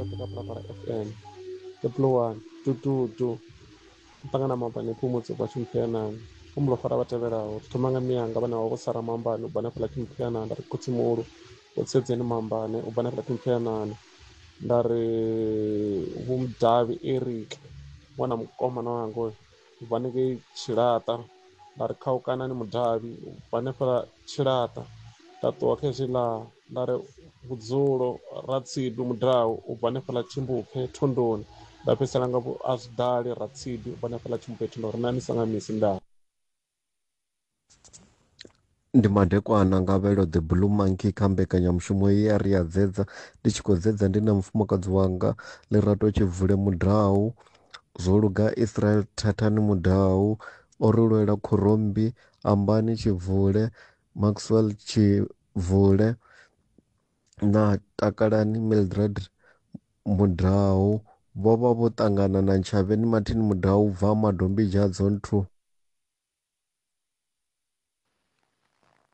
Misi yoṱhe kha Phalaphala FM. The Blue One, Dududu, Muṱangana Maambani, Phumudzo ubva Tshimuphianani. Humbula u fara vha tevhelaho. Ri thoma nga mianga vhane vha vho Sara Maambani ubva hanefhaḽa Tshimuphianani. Nda ri Khotsimuhulu Vho Tsedzeni Maambani ubva hanefhaḽa Tshimuphianani. Nda ri Vho Mudavhi Eric ṅwana mukomana wanga hoyu ubva hanengei Tshilaṱa. Nda ri Khaukanani Mudavhi ubva hanefhaḽa Tshilaṱa. Nda ṱuwa kha hezwiḽa nda ri vhudzulo Ratsidu Mudau ubva hanefhaḽa Tshimbupfe Thondoni. Nda fhedzisela nga vho Azwidali Ratsidu ubva hanefhaḽa Tshimbupfe Thondoni. Ri na misa nga misi ndaa. Ndi madekwana nga vhelo The Blue Monkey kha mbekanyamushumo ye ya ri ya dzedza ndi tshi khou dzedza ndi na mufumakadzi wanga Lerato Tshibvule Mudau, zwo luga Israel Thathani Mudau, o ri lwela Khorommbi, Ambani Tshibvule, Maxwell Tshibvule na Takalani Mildred Mudau vho vha vho ṱangana na Ntshavheni Martin Mudau u bva Madombidzha Zone 2.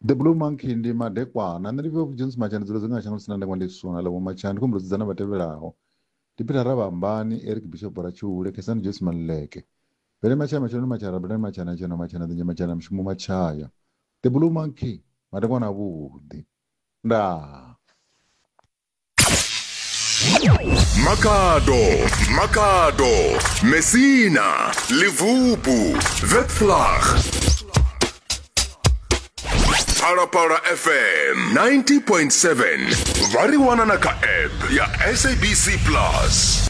The Blue Monkey ndi madekwana nṋe ndi vho Jones Machana dzula dzi nga shango lisina ndengwa ndi suna ḽa vho Machana ndi khou humbula dzudzana vha tevhelaho ndi Peter Rabambani Eric Bishop Ratshiule Khesani Joyce Maluleke Bele Machaya Machana Machaya Rabelani Machana Tsheno Machana Ḓinzhe Machana Mushumo Machaya The Blue Monkey madekwana avhuḓi ndaa. Makhado, Makhado, Messina, Levubu, Webvlag. Phalaphala FM 90.7 vha ri wana na kha app ya SABC Plus.